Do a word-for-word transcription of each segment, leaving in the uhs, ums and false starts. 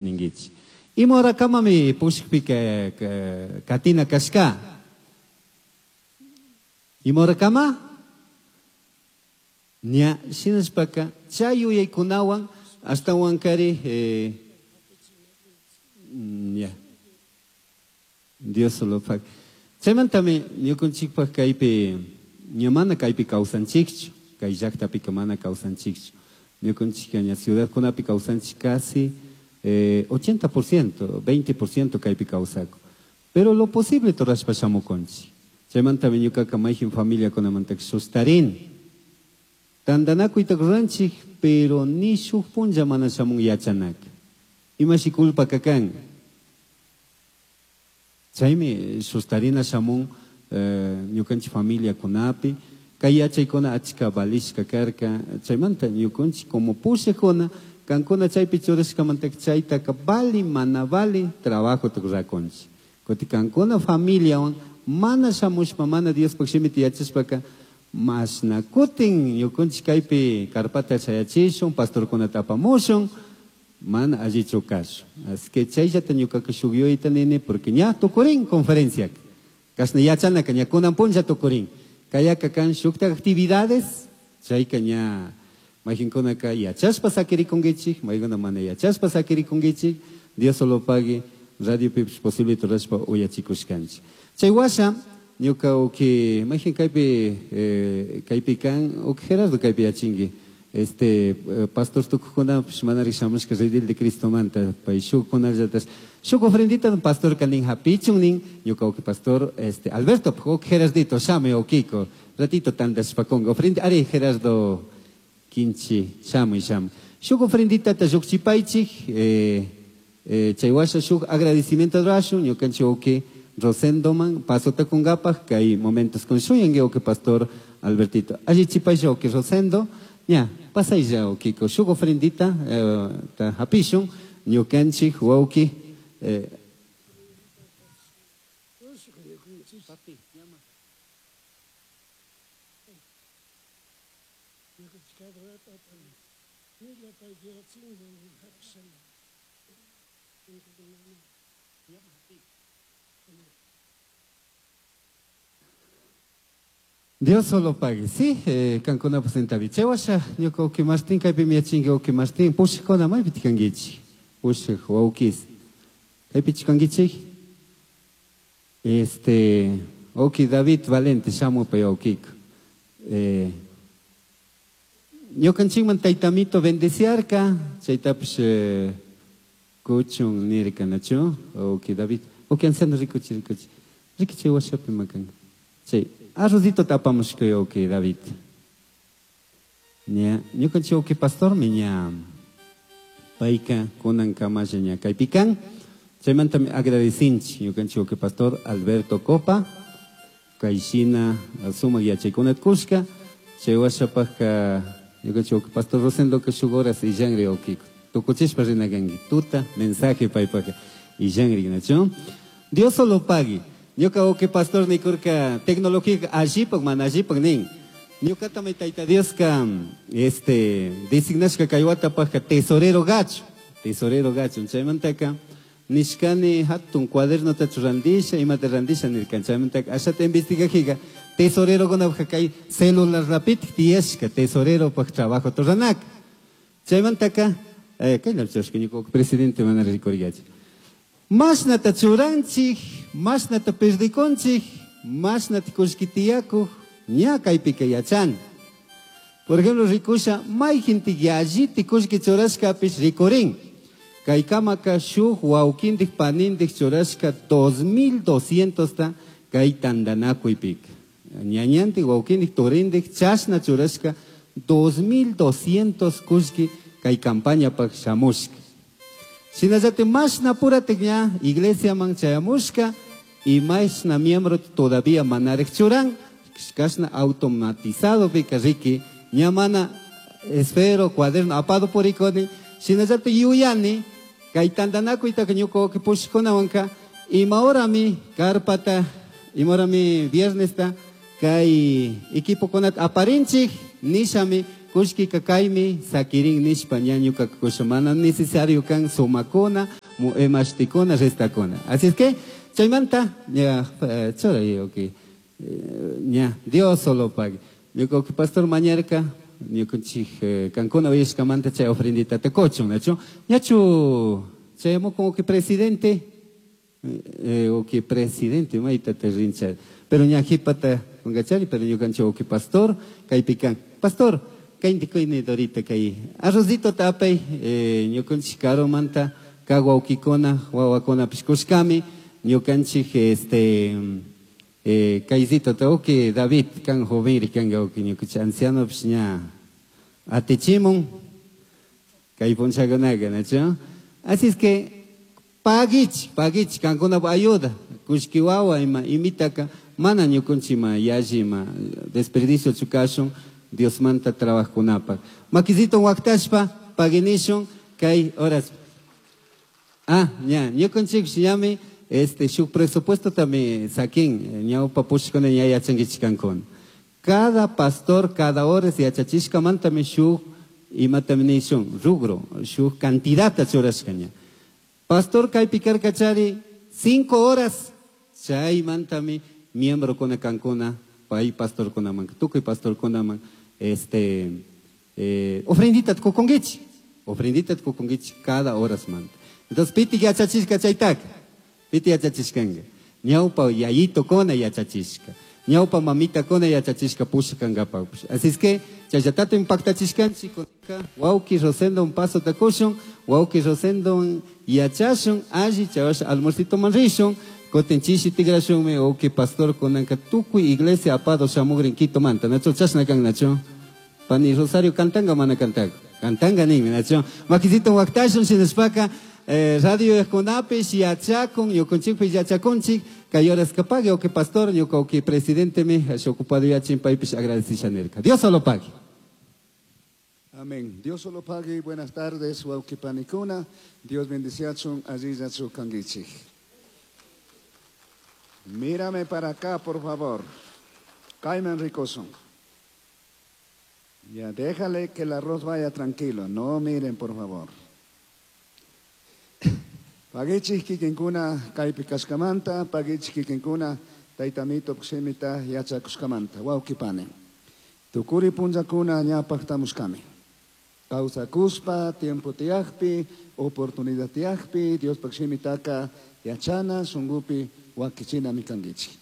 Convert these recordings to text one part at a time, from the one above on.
Ningichi. Ima kamami pushikpika katina kashka. Ima kama? Ña shinashpaka chay yuyaykunawan ashtawan kari eh, ya. Dios solo pague. Chaymantami ñukanchikpak kaypi ña mana kaypi kawsanchikchu, kay llaqtapika mana kawsanchikchu. Ñukanchikka ña ciudadkunapi kawsanchik casi eh, ochenta por ciento, veinte por ciento kaypi kawsakun. Pero lo posible rurashpa shamukunchik. Chaymantami ñukaka mayjin familiakunamantaka sustarin. Tantanakuyta ruranchik, pero ni shuk punlla mana shamun yachanaka. Imashi culpa kakan. Chaymi sustarina shamun eh, ñukanchik familiakunapi, kay yachaykuna achka valishka karka, chaymanta ñukanchik como pushakuna, kankuna chaypi churashkamantaka chaytaka vali mana vali trabajo rurakunchik. Kuti kankuna familiawan mana shamushpa, mana Diospaq shimita yachashpaka, masna kutin ñukanchik kaypi karpata chayachishun, pastorkunata apamushun, mana allichu kashun. Así que chayllata ñukaka shuk yuyayta nini, porque ña tukurin conferenciaka. Kashna yachanaka ña kunan punlla tukurin. Kayaka kan shukta actividades, chayka ña mayqinkunaka yachashpa sakirikunkichik, maykuna mana yachashpa sakirikunkichik, Dios solo pague, radio pipish posible rurashpa uyachikushkanchik. Chay washa, ñuka uki, mayqin kaypi, eh, kaypi kan, uki Gerardo kaypi yachinki. Este, eh, pastor tukuqkunapish manaraq shamushka redil de Cristomanta, pay shukkunallatas. Shuk ofrendita pastor kanin hapichun nin, ñuka uki pastor, este, Alberto, uki Gerardito, shamuy ukiko, ratito tandashpakunka. Ofrenda, ari Gerardo Kinchi, shamuy, shamuy. Shuk ofrendita ta lluqchipaychik, eh, eh, chay washa shuk agradecimiento rurashun, ñukanchik uki Rosendoman, paso takunkapaj, kay momentos con shuyanki uki pastor Albertito. Allichipaylla uki Rosendo, ña, pasaylla ukiko, shuk ofrendita, eh, ta hapishun, ñukanchik wawki, eh, Dios solo pague, sí, eh, kankuna presenta bichewasha, ñuka uki Martín, kaypi miyachinki uki Martín, pushikuna maypi tikankichik, pushik wawkis, kaypi chikankichik, este, uki David Valente, shamupay wawkiko, eh, ñukanchikman taytamito bendeciarka, chaytapish, eh, kuchun nirka, nachu, uki David, uki anciano rikuchi, rikuchi, rikichi washapi makanka, chay, arrozito tapamushka uki David. Ña, ñukanchik uki pastor mi ña payka kunan kamalla ña kaypi kan. Chaymantami agradecinchik ñukanchik uki pastor Alberto Copa, kayshina sumak yachaykunata kushka, chay washapajka ñukanchik uki pastor Rosendo ka shuk horas illanri ukiko. Tukuchishpa rina kanki, tuta mensaje paypajka illanri, nachu. Dios solo pague. Ñuka uki pastor nikurka tecnología allipak mana allipak nin. Ñukatami tayta Dioska, este, designashka kay watapajka tesorero gacho, tesorero gacho. Chaymantaka nishkani hatun cuadernota randisha, imata randisha nirkan. Chaymantaka ashata investigajiga tesorero kunapajka kay celular rapitik tiyashka tesorero paj trabajo turanaka. Chaymantaka, eh, kay llamchashka ñuka presidente mana rikurigachi. Mashnata churanchik, mashnata perdikonchik, mashnata kullki tiyakuj, ña kaypika yachan. Por ejemplo, rikusha, mayjintik yalliti kullki churashkapish rikurin. Kaykamaka shuk wawkintik panintik churashka dos mil doscientos ta kay tantanakuypika. Ñañantik wawkintik turintik chashna churashka dos mil doscientos kullki kay campañapaj shamushka. Shinallati mashna puratik ña iglesiaman chayamushka y mashna miembro todavía manarek churan, kashna automatizado pika riki, ña mana esfero, cuaderno, apado purikoni, shinallati yuyani, kay tantanakuytaka ñuka uki pushkunawanka, imahorami karpata, imahorami viernesta, kay equipokunata aparinchik, nishami Kullkika kaymi sakirin nishpa ña ñuka kusha mana necesario kan sumakuna, emashtikuna, restakuna. Así es que chaymanta ña churay okay. Ña Dios solo pague. Ñuka pastor mañarka ñukanchik kankuna uyashkamanta chay ofrendita te kuchun, nachu? Ñachu chayamo como que presidente eh, o que presidente mayta te rincha. Pero ña jipata kungachari, pero ñukanchik o que pastor kaypikan. Pastor, kayndi kayni dorita kay arrozito tapay eh, ñukanchik karumanta kawawkikuna wawakuna pishkushkami ñukanchik este eh, kayzito ta uki David kan joven kan uki ñukanchik anciano pish ña atichimun kay punchakunaqa nachu. Así es que pagich pagich kankuna ayuda kushki wawa ima imitaka mana ñukanchik yalli ima desperdicio chukashun Dios manta trabajunapak. Makizito waktashpa paginishun kay horas. Ah, ña, ñukanchik ñami este shuk presupuesto también saquin ñawpa pushkuna ña yachankichikankuna. Cada pastor cada hora yachachishkamantami shuk imatami nishun rugro shuk cantidad churashkaña. Pastor kaypi karkachari cinco horas chaymantami miembro kuna kankuna pay pastor kunaman tukuy pastor kunaman este eh, ofrendita kukunkichik ofrendita kukunkichik cada horas manta. Entonces piti yachachishka chaytaka piti yachachishkanka ñawpa yayito kuna yachachishka ñawpa mamita kuna yachachishka pushkankapak. Así es que chayllatato impactachishkanchik wawki Rosendo un paso takushun wawki Rosendo yachashun alli chawash almuercito man rishun kutin chishi tigrashunmi wawki pastor kunanka tukuy iglesia apado shamugrin Quito manta nachu chashna kan nachu pani Rosario cantanga mana cantanga cantanga ninmi nachu makisito waktashun shinashpaka eh, radio kunapish yachakun ñukanchikpish yachakunchik kay horas pague o que pastor ñuka o que presidente me ocupado yachin paypish agradecisha nirka. Dios solo pague. Amén. Dios solo pague. Buenas tardes, wawqipanikuna. Dios bendiciachun allillachu kankichik. Mírame para acá, por favor. Caiman ricoson. Ya, déjale que el arroz vaya tranquilo. No miren, por favor. Pagichik kikinkuna kaypi kashkamanta, pagichik kikinkuna taytamito shimita yachakushkamanta. Wawqipani. Tukuri punllakuna ñapaqtamushkami. Kawsakuspa, tiempo tiyakpi, oportunidad tiyakpi, Diospaq shimitaka yachana, shunkupi wakichinami kankichik.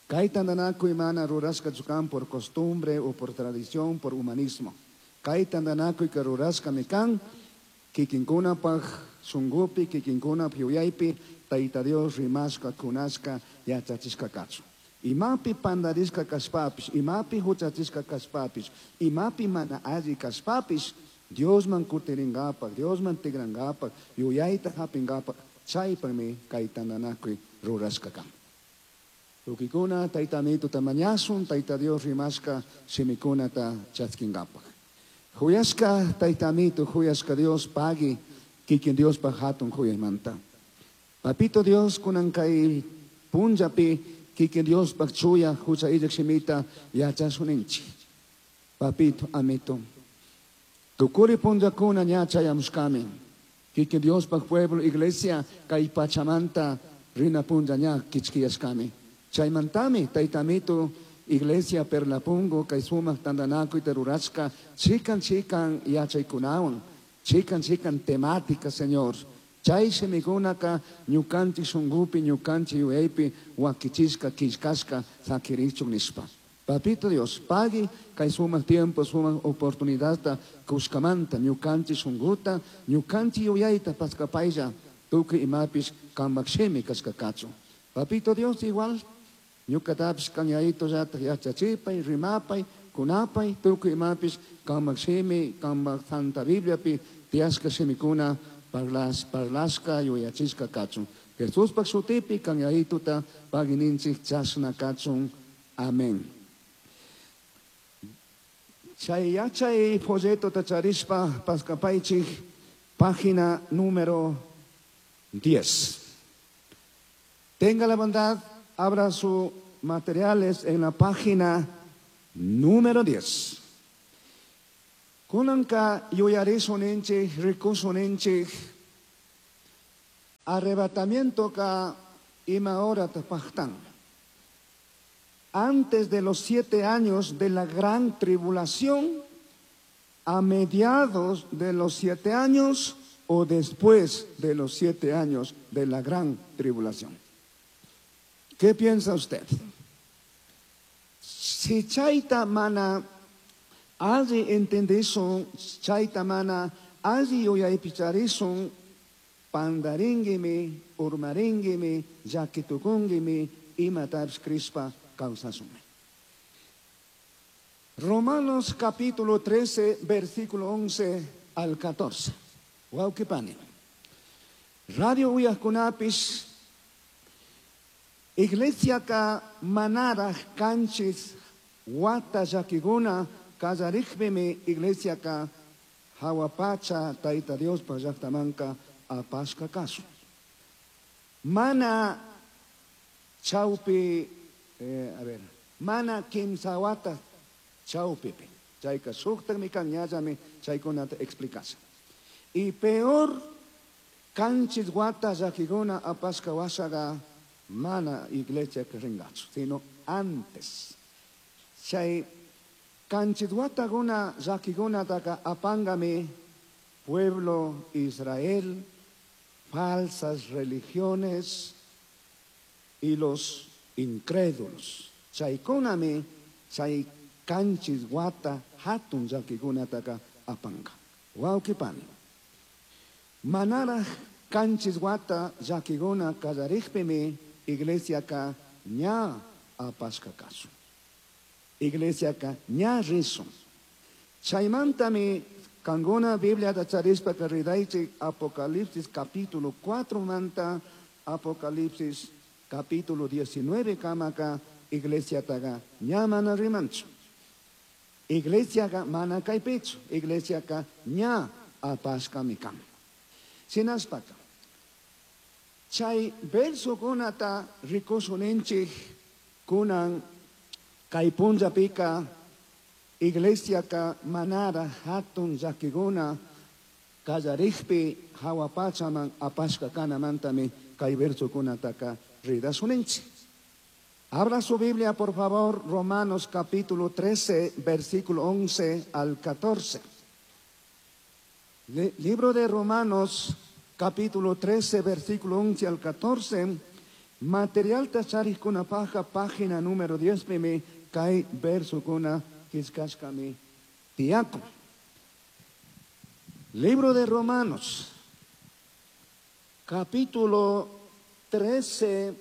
Kay tantanakuy mana rurashka chukan por costumbre o por tradición, por humanismo. Kay tantanakuy ka rurashkami kan, kikinkunapaq shunkupi, kikinkunap yuyaypi, Tayta Dios rimashka, kunashka, yachachishka kachu. Imapi pandarishka kashpapish, imapi huchachishka kashpapish, imapi mana alli kashpapish, Diosman kutiringapak, Diosman tigrangapak, yuyayta hapingapak, chaypami kay tantanakuy rurashka kan. Tukikuna taytamito tamañasun, Tayta Dios rimashka shimikunata chatskingapak. Huyashka taytamito, huyashka Dios pagi, kikin Dios pa hatun huyaymanta. Papito Dios kunan kay punllapi, kikin Dios pa chuya hucha illak shimita yachasuninchik. Papito, amito. Tukuri punllakuna ña chayamushkami. Kikin Dios pa pueblo, iglesia, kay pachamanta rina punlla ña kichkiyashkami. Chaymantami, taytamito, iglesia Perlapungo, kay sumaq tantanakuy terurashka, chikan chikan yachaykunawan, chikan chikan temática, Señor. Chay shimikunaka ñukanchik shunkupi, ñukanchik yuyaypi, wakichishka, killkashka, sakirichun nishpa. Papito Dios, pagui kay sumaq tiempo, sumaq oportunidadta kushkamanta, ñukanchik shunkuta, ñukanchik yuyayta paskapaylla, tukuy imapish kamak shimi kashkakachu. Papito Dios igual, ñukatapish kanyayito llatak yachachipay, rimapay, kunapay, tukuy imapish kamak shimi, kamak Santa Bibliapi, tiyashka shimikuna, parlas, parlashka, yuyachishka kachun. Jesuspak shutipi kanyayituta pagininchik chashna kachun. Amén. Chay yachay folleto tacharishpa paskapaychik, página número diez. Tenga la bondad, abra sus materiales en la página número diez. Kunanka yuyarisuninchik, rikusuninchik, arrebatamiento ka ima hora pajtan. Antes de los siete años de la gran tribulación, a mediados de los siete años o después de los siete años de la gran tribulación. ¿Qué piensa usted? Si chayta mana alli entendisun, chayta mana alli yuyaypicharisun, pandaringuimi, urmaringuimi, llakitukunguimi, imatapish crishpa kawsashunmi. Romanos capítulo trece, versículo once al catorce. Wawqipani. Radio uyajkunapish, iglesiaka manaraj kanchis wata llakikuna kallarikpimi iglesiaka hawa pacha Tayta Diospa llaktamanka apashka kashun. Mana chawpi, eh, a ver, mana kimsa wata chawpipi. Chayka shuktakmi kan ñallami chaykunata explicasha. Y peor, kanchis wata llakikuna apashka washaga mana iglesia ringachu, sino antes. Chay kanchis watakuna llakikunataka apangami pueblo Israel, falsas religiones y los incrédulos. Chaykunami chay kanchis wata hatun llakikunataka apanga. Wawqipani. Manaraj kanchis wata llakikuna kallarikpimi iglesiaka ña apashka kashun. Iglesiaka ña rishun. Chaymantami kanguna Bibliata charishpaka ridaychik Apocalipsis capítulo cuatro manta Apocalipsis capítulo diecinueve kamaka iglesiataga ña mana rimanchu. Iglesiaka mana kaypichu. Iglesiaka ña apashkami kan. Shinashpaka chay versokunata rikusuninchik kunan kay punllapika iglesiaka manara hatun llakikuna kallarikpi hawa pachaman apashka kanamantami kay versokunataka ridasuninchik. Abra su Biblia, por favor, Romanos capítulo trece, versículo once al catorce. Le, libro de Romanos, capítulo trece, versículo once al catorce. Material tacharikuna paja, página número diez, pime, kay verso kuna kiskashkami tiaco. Libro de Romanos, capítulo trece,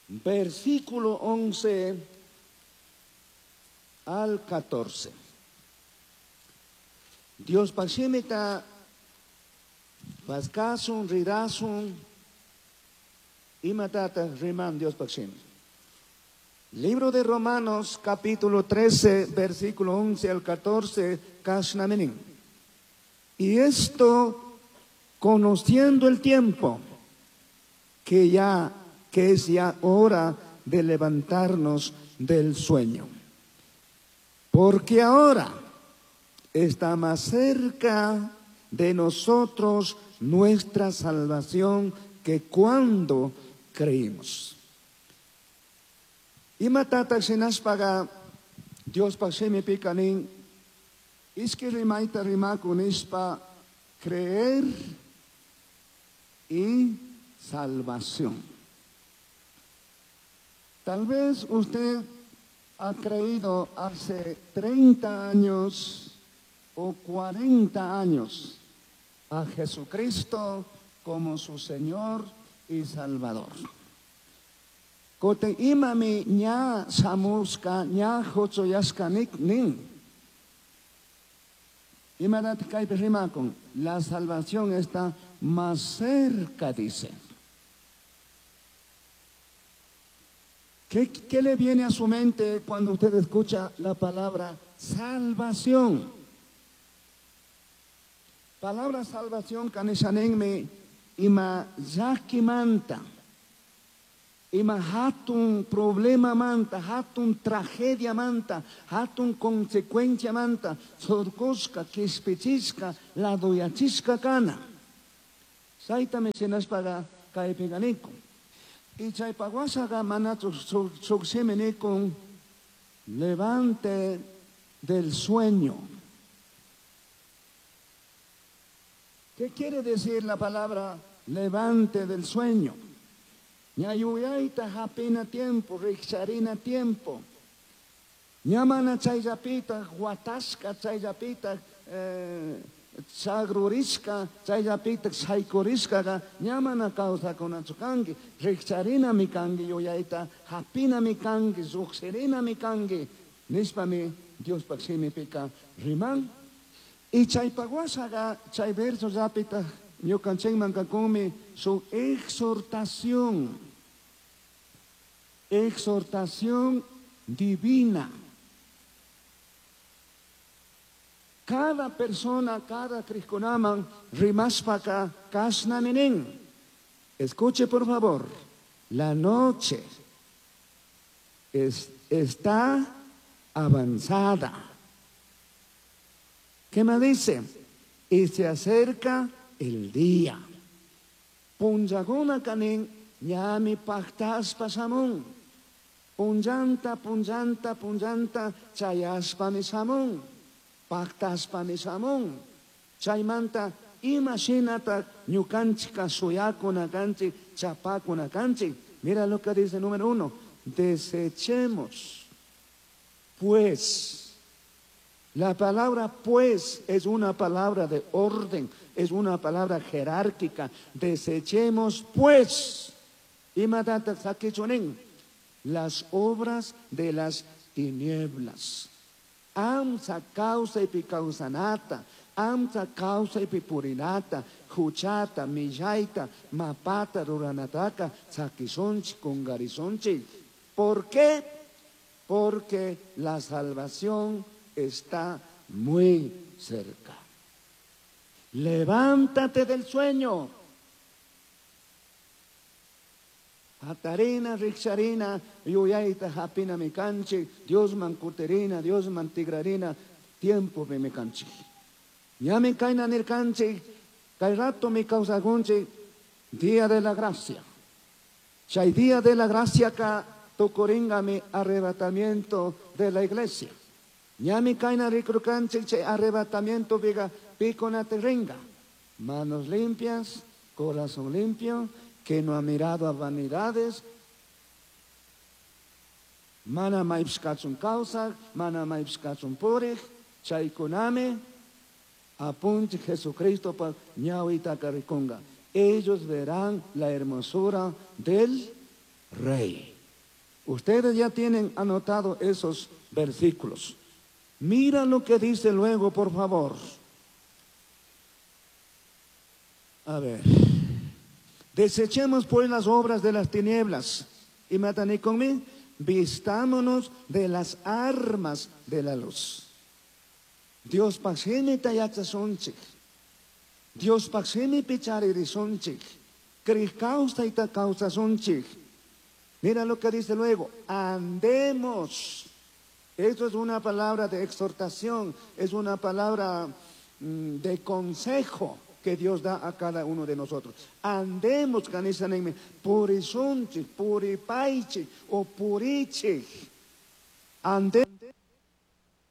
versículo once al catorce. Dios pashimita paskasun, ridasun, imatata riman Dios pashimi. Libro de Romanos, capítulo trece, versículo once al catorce, kashnamenin. Y esto, conociendo el tiempo, que ya, que es ya hora de levantarnos del sueño. Porque ahora está más cerca de nosotros nuestra salvación que cuando creímos. Imatata shinashpaga Dios pashimi pikanin iski rimaita rimakunishpa creer y salvación. Tal vez usted ha creído hace treinta años o cuarenta años a Jesucristo como su Señor y Salvador. Kote imami ña samuska ña hochoyaska nik nin. Imadat kaypi rimakun, la salvación está más cerca, dice. ¿Qué, qué le viene a su mente cuando usted escucha la palabra salvación? Palabra salvación kanishanenme ima llakimanta, Ima hatun problema manta, hatun tragedia manta, hatun consecuencia manta, surkushka, kishpichishka, laduyachishka kana. Chaytami shinashpaga kaypiga nikun. Y chaypa washaga manachu shuk shimi nikun, levante del sueño. ¿Qué quiere decir la palabra levante del sueño? Ñayuyayta hapina tiempo, rikcharina tiempo. Ñamana chayllapita, huatashka chayllapita, eh, chagrurishka chayllapita, shaykurishkaga, ñamana kawsakunachu kanki, rikcharinami kanki yuyayta, hapinami kanki, lluqshirinami kanki, nishpami Diospaq shimipika riman. Y chaypa washaga, chay verso llapita, ñukanchikman kakunmi su exhortación, exhortación divina. Cada persona, cada crishkunaman rimashpaka kashnami nin. Escuche por favor, la noche es, está avanzada. ¿Qué me dice? Y se acerca el día. Punllakuna kanin ñami pajtaspa shamun. Punllanta, punllanta, punllanta chayashpami shamun. Pajtaspami shamun. Chaymanta ima shinata ñukanchika shuyakuna kanchik, chapakuna kanchik. Mira lo que dice número uno. Desechemos. Pues. La palabra pues es una palabra de orden, es una palabra jerárquica. Desechemos pues. Imatata sakichunin. Las obras de las tinieblas. Amsa causa y picausanata, amsa causa y pipurinata, juchata, millaita, mapata, ruranataka, sakisonchi, kungarisonchi. ¿Por qué? Porque la salvación está muy cerca. Levántate del sueño. Hatarina, rikcharina, yuyayta hapina mi kanchik, Dios mankuterina, Dios mantigrarina, tiempo mi kanchik. Ñami kayna nirkanchik, kay rato mi kawsakunchik, día de la gracia. Chay día de la gracia ka tukuringa mi arrebatamiento de la iglesia. Ñami kayna rikrukanchik, chay arrebatamiento viga piconaterringa. Manos limpias, corazón limpio, que no ha mirado a vanidades. Mana maipskachun kawsak, mana maipskachun purik, chaykunami, apunchi Jesucristo pa ñawitaka rikunga. Ellos verán la hermosura del Rey. Ustedes ya tienen anotado esos versículos. Mira lo que dice luego, por favor. A ver. Desechemos pues las obras de las tinieblas. Y mataní conmigo, vistámonos de las armas de la luz. Dios paximi tayachasonchik. Dios paximi picharirisonchik. Cricausa y tacausasonchik. Mira lo que dice luego. Andemos. Esto es una palabra de exhortación, es una palabra mm, de consejo que Dios da a cada uno de nosotros. Andemos, canisanenme, purisonchik, puripaichik o purichik. Andemos.